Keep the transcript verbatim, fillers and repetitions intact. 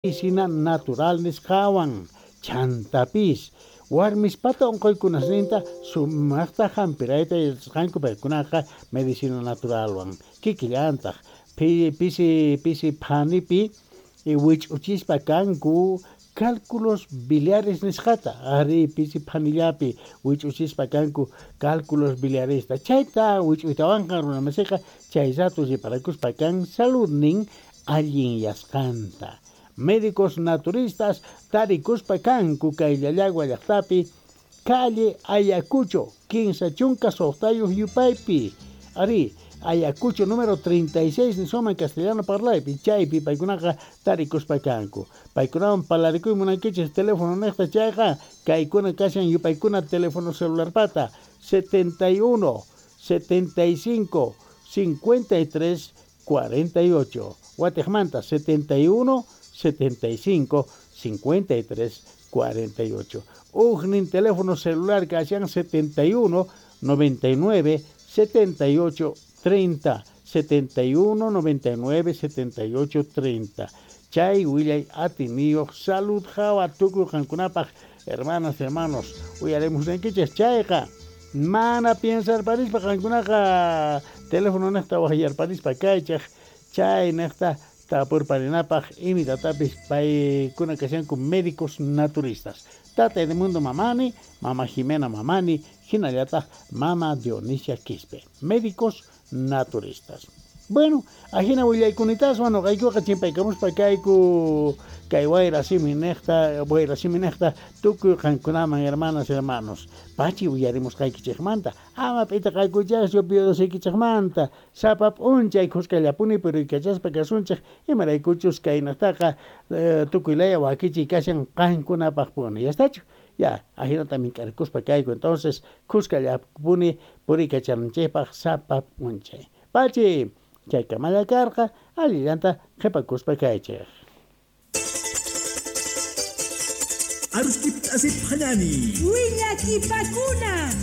Medicina natural nisqawan chantapis warmispata unquykunasninta sumaqta hampirayta yachasqanku paykunaqa medicina naturalwan kikillantaq pisi pisi phanipi wich'uchispa kanku cálculos biliares nisqata ari pisi phanillapi wich'uchispa kanku cálculos biliaresta chayta wich'uytawanqa runamasiqa chay rato riparakuspa kan saludnin allinyasqanta. Médicos naturistas tarikuspa kanku kay Llallagua llaqtapi calle Ayacucho kinsa chunka suqtayuq yupaypi ari Ayacucho número treinta y seis niswaman castellano parlaypi chaypi paykunaqa tarikuspa kanku paykunawan parlarikuy munankichis teléfono niqta chayqa kaykuna kashan yupaykuna teléfono celularpata setenta y uno, setenta y cinco, cincuenta y tres, cuarenta y ocho Watiqmanta setenta y uno, setenta y cinco, cincuenta y tres, cuarenta y ocho. Ujnin teléfono celular kashan setenta y uno, noventa y nueve, setenta y ocho, treinta. setenta y uno, noventa y nueve, setenta y ocho, treinta. Chay willay atiniyuq salud hawa tukuy qankunapaq hermanas, hermanos, uyarimusnaykichis chayqa mana piensarparispa qankunaqa teléfono niqta waqyarparispa kaychaq chay niqta tapurparinapaq imitatapis paykuna kashanku médicos naturistas. Tata Edmundo Mamani, Mama Jimena Mamani, hinallataq Mama Dionisia Quispe, médicos naturistas. Bueno, ajina willaykunitaaswan noqaykuqa chimpaykamuspa kayku kay wayra simi niqta, wayra simi niqta tukuy qankunaman hermanas, hermanos. Pachi uyarimusqaykichikmanta, ama p'itaqaykuchaschu piudosiykichikmanta, sapa p'unchay khuskallapuni puriykachaspa kasunchik, imaraykuchus kaynaqtaqa eh, tukuy laya wakichiy kashan qankunapaqpuni. ¿Ya estachu? Ya, ajinata mink'arikuspa kayku, entonces khuskallapuni puriykachananchikpaq sapa p'unchay. Pachi, chaykamalla karqa, allillanta qhipakuspa kaychik. Aruskip asip hanani. Willakipakuna.